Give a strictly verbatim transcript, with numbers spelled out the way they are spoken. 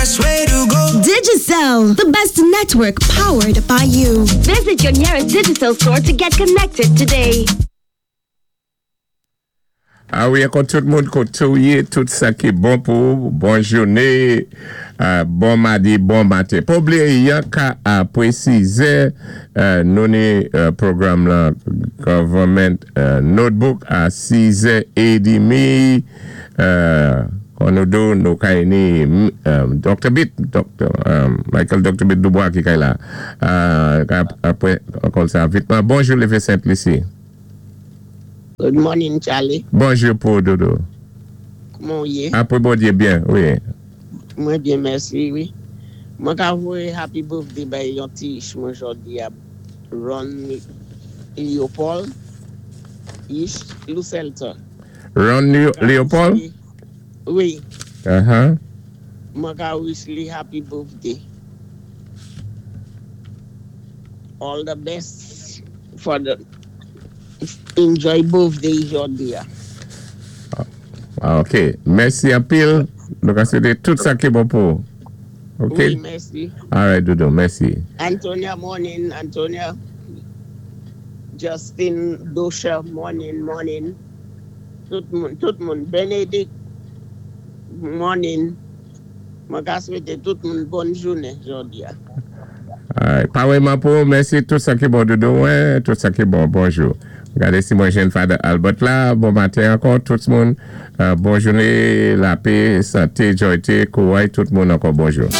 best way to go. Digicel, the best network powered by you. Visit your nearest Digicel store to get connected today. A wi, ankò tout moun koté ou yé, tout sa ki bon pou, bon jouné, euh, bon madi, bon maten. Pa blié, yanka apwé sizè, euh, nou ni euh, pwogram la Government euh, Notebook a sizè édmi, euh, kon nou do nou kay ni euh, Dr. Bit, Dr. Um, Michael Dr. Bit Dubois ki kay la. Euh, apwé, ankò sa vitman. Bonjou, Lévé Saint-Lucie. Good morning, Charlie. Bonjou pou Dodo. Kouman ou yé? Apwé Bondyé byen, wi. Mwen byen, mèsi, wi. Mwen ka voyé happy birthday bay yon ti ich mwen jòdi a Ron Leopold. Ich Lucelta. Ron Leo- Leopold? Wi. Uh-huh. Mwen ka wish li happy birthday. All the best for the enjoy birthday jòdi a. Ah, OK. Mèsi anpil. Nou ka swété tout sa ki bon pou. OK? Wi, mèsi. All right, Dodo, mèsi. Antonia, morning. Antonia. Justin Dosha, morning, morning. Tout moun, tout moun. Benedict, morning. Mwen ka swété tout moun bòn jounen jòdi a. All right. Parèyman pou, mèsi tout sa ki bon, Dodo, wè, tout sa ki bon, bonjou. Gadé si mwen jwenn Father Albert la, bon maten ankò, tout moun. Euh, bon jounen, lapè, santé, jwayté, kouway, tout moun ankò, bonjou.